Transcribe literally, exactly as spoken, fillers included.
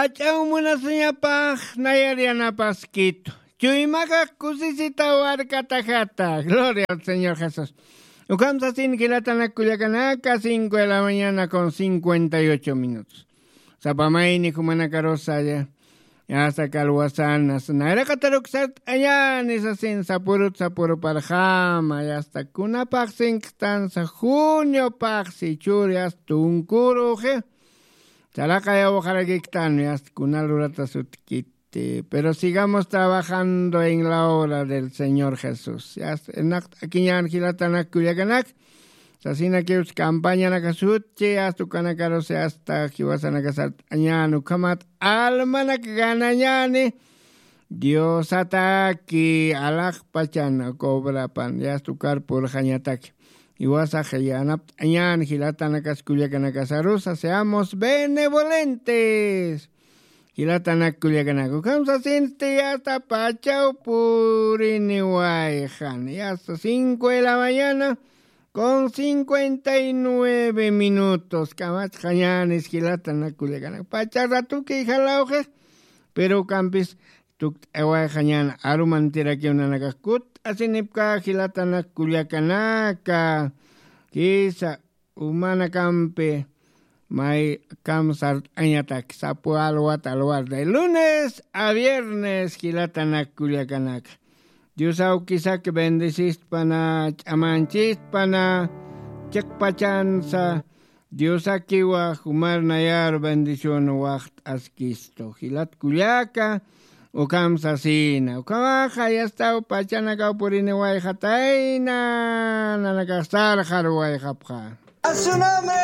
Ach'aw munasiñapax nayar yanapaskitu. Chuymakax kusisita warkatajata. Gloria al Señor Jesús. Ukham sasin jilatanak kullakanaka, cinco de la mañana con cincuenta y ocho minutos. Sapamayni jumanakarusa ya. Yasta kalwasanas. Nayraqataruk sart'añani sasin sapurut sapuruparjama. Yasta kunapaxsin ktansa junio paxsi churi yasta tunkuruxi. Chalaqay awxarakiktan, yasta kunal urata sutkiti. Pero sigamos trabajando en la obra del Señor Jesús. Yasta, enaqt'akiñan jilatanak kullakanak. Sasinakiwsa campañanaka sutchi, yasta ukanakarus, yasta jiwasanaka sart'añan, ukhamat almanak ganañani. Diosataki alaxpachan cobrapan, yasta ukar purxañataki. Jiwasax yanapt'añan jilatanakas kullakanakasarusa, seamos benevolentes. Jilatanak kullakanaka. Ukham sasinsti yasta pachaw puriniwayxan. Yasta cinco de la mañana con cincuenta y nueve minutos. Kamachxañanis jilatanak kullakanaka. Pacha ratuki jalawxi. Pero ukampis tukt'awayxañan arumantirakiw nanakax kut'asinipka jilatanak kullakanaka. Kisa umanakampi may kam sart'añatak sapu alwat alwar de lunes a viernes jilatanak kullakanaka. Diosaw kisak bendisistpana, ch'amanchistpana, chiqpachansa, Diosakiwa jumar nayar bendición waxt'askistu. Jilat kullaka, ukham sasina. Ukhamaxa yastaw pachanakaw puriniwayxatayna, nanakax sarxaruwayxapxa.